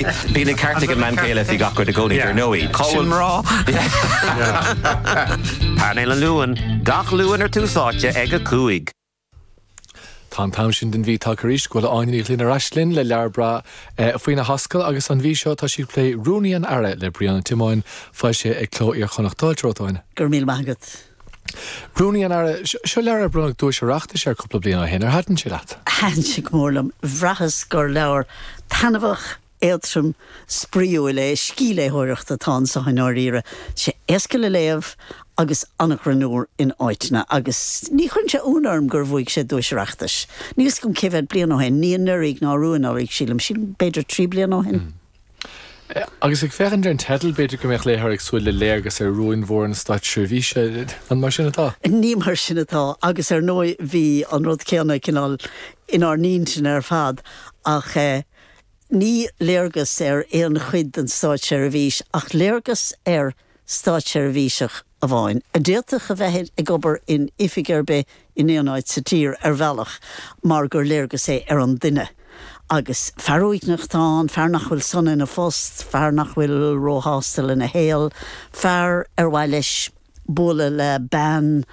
Bíonn an ceart ag an mbean chéile faoi gach rud i gcónaí, dar ndóigh. Cá Sin bhfuil. mná. Painéal an Luain, gach Luan ar Tús Áite ag 5. Tá an t-am sin den mhí tagtha arís go bhfuil Áine Ní Ghlinn ar ais linn le leabhar breá faoina hascaill agus an mhí seo tá sí ag plé Rúnaí an Aire le Brian Ó Tiomáin, foilsithe ag Cló Iar-Chonnacht. Fáilte romhat, a Áine. Go raibh míle maith agat. Rúnaí an Aire, Seo leabhar ar bronnadh duais Oireachtais air cúpla bliain ó shin. Ar thaitin sé leat? Thaitin sé go mór liom. Bhraitheas gur leabhar taitneamhach, éadtrom, spraíúil é. Scíthléitheoireacht atá anso i ndáiríre. Tá sé éasca le léamh agus an-ghreannmhar in áiteanna. Agus ní chuireann sé ionadh orm gur bhuaigh sé duais Oireachtais. Níl 's agam cé mhéad bliain ó shin, ní anuraidh ná arú anuraidh, sílim. Sílim b'fhéidir 3 bliana ó shin. Agus ag féachaint ar an teideal, b'fhéidir go mbeadh léitheoir ag súil le léargas ar rúin mhóra na státseirbhíse. An mar sin atá? Ní mar sin atá, agus ar ndóigh bhí an rud céanna cineál inár n-intinn ar fad, ach ní léargas ar aon chuid den státseirbhís ach léargas ar státseirbhíseach amháin, a d'fhéadfadh a bheith ag obair in oifig ar bith in aon áit sa tír, ar bhealach, mar gur léargas é ar an duine. Agus fear uaigneach atá ann, fear nach bhfuil sona ina phost, fear nach bhfuil róshásta lena shaol, fear ar mhaith leis bualadh le bean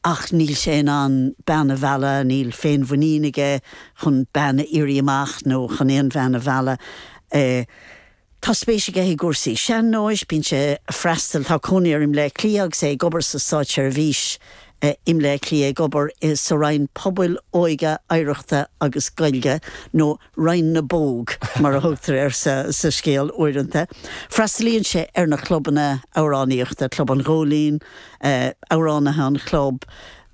ach níl sé in ann bean a mhealladh, níl féinmhuinín aige chun bean a iarraidh amach nó chun aon bhean a mhealladh. Tá spéis aige i gcúrsaí sean-nóis, bíonn sé ag freastal, tá cónaí air i mBleá Cliath agus é ag obair sa státseirbhís i mBleá Cliath, ag obair sa Roinn Pobail, Óige, Oidhreachta agus Gaeilge, nó Roinn na bPóg mar a thugtar air sa scéal uaireanta. Freastalaíonn sé ar na clubanna amhránaíochta, Club an Ghóilín, Amhránaithe an Chlub,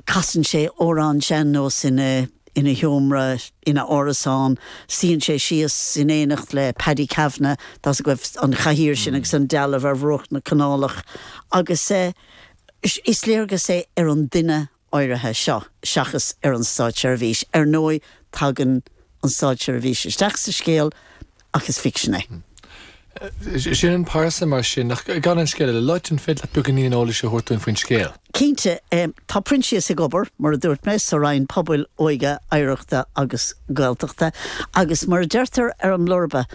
casann sé amhráin sean-nóis ina. ina sheomra ina árasán. Suíonn sé síos in éineacht le Paddy Kavanagh, tá's agaibh an chathaoir sin agus an dealbh ar bhruach na canálach, agus is léargas é ar an duine áirithe seo seachas ar an státseirbhís. Ar ndóigh, tagann an státseirbhís isteach sa scéal ach is ficsean é. Sin an pearsa mar sin, ach gan an scéal a loit, an féidir leat beagáinín eolais a thabhairt dúinn faoin scéal? Cinnte. Tá Proinsias ag obair, mar a dúirt mé, sa Roinn Pobail, Óige, Oidhreachta agus Gaeltachta agus mar a deirtear ar an mblurba,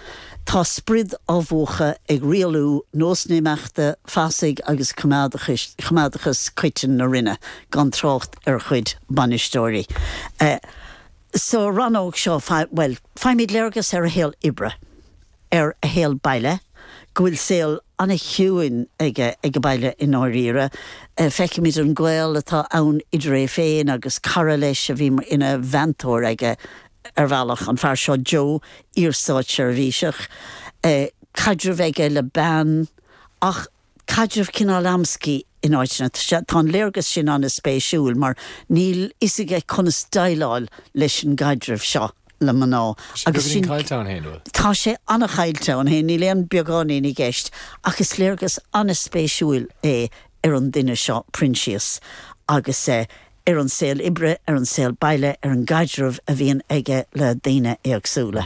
tá sprid á mhúchadh ag rialú, nósanna imeachta, fasaigh agus coimeádachas coiteann na Roinne, gan trácht ar a chuid bainisteoirí. Sa rannóg seo, bhuel, faighimid léargas ar a shaol oibre. ar a shaol baile, go bhfuil saol an-chiúin aige ag an baile i ndáiríre. Feicimid an gaol atá ann idir é féin agus cara leis a bhí ina mheantóir aige ar bhealach, an fear seo Joe, iar-státseirbhíseach. Caidreamh aige le bean ach. caidreamh cineál amscaí in áiteanna. Tá an léargas sin an-spéisiúil mar níl fhios aige conas déileáil leis an gcaidreamh seo le mná agus sin. Tá sé beagáinín caillte ann féin, bhfuil? Tá sé an-chaillte ann féin, níl aon beagáinín i gceist ach is léargas an-spéisiúil é ar an duine seo, Proinsias, agus ar an saol oibre, ar an saol baile, ar an gcaidreamh a bhíonn aige le daoine éagsúla.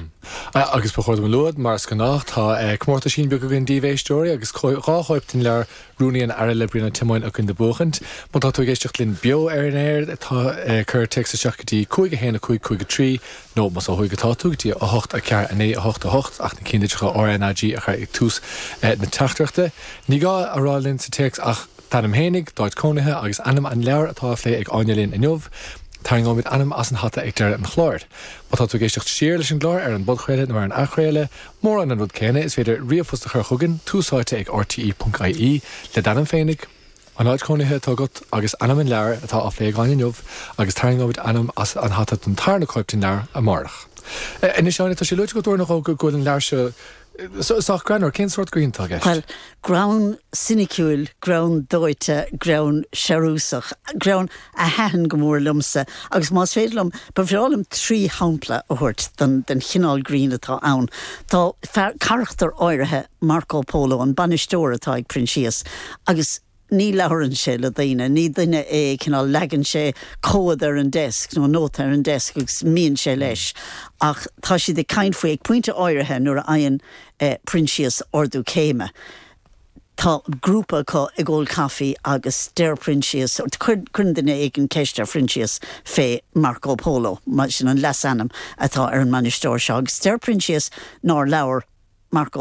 Agus ba chóir dom a lua, mar is gnách, tá comórtaisín beag againn daoibh, a éisteoirí, agus dhá chóip den leabhar Rúnaí an Aire le Brian Ó Tiomáin againn le buachaint. Má tá tú ag éisteacht linn beo ar an aer, tá, cuir téacs isteach go dtí 5 1 5 5 3, nó más ó thuaidh atá tú, go dtí 8 4 9 8 8, ach na cinnlitreacha RnaG a chur ag tús na teachtaireachta. Ní gá a rá linn sa téacs ach. D'ainm fhéinig, d'áit cónaithe agus ainm an leabhair atá á phlé ag Áine linn inniu. Tarraingeoimid ainm as an hata ag deireadh an chláir. Má tá tú ag éisteacht siar leis an gclár ar an bpodchraoladh nó ar an athchraoladh, mórán an rud céanna, is féidir ríomhphost a chur chugainn, túsáite ag rte.ie, le d'ainm féinig, an áit chónaithe atá agat agus ainm an leabhair atá á phlé ag Áine inniu agus tarraingeoimid ainm as an hata don tarna cóip den leabhar amárach. Anois Áine, tá sé luaite agat uair nó dhó go bhfuil an leabhar seo Sách greannmhar, cén sórt grinn atá i gceist? Bhuel, greann soiniciúil, greann dóite, greann searúsach, greann a thaitin go mór liomsa agus más féidir liom, ba bhreá liom 3 shampla a thabhairt den den chineál grinn atá ann. Tá fear, carachtar áirithe, Marco Polo, an bainisteoir atá ag Proinsias agus, Ní labhrann sé le daoine, ní duine é, cineál, leagann sé comhad ar an desk nó nóta ar an desk agus imíonn sé leis. Ach tá siad ag caint faoi, ag pointe áirithe nuair a fhaigheann Proinsias ardú céime, tá grúpa acu ag ól caife agus deir Proinsias, cuireann duine éigin ceist ar Phroinsias fé Marco Polo, mar sin an leasainm atá ar an mbainisteoir seo, agus deir Proinsias nár labhair. Marco.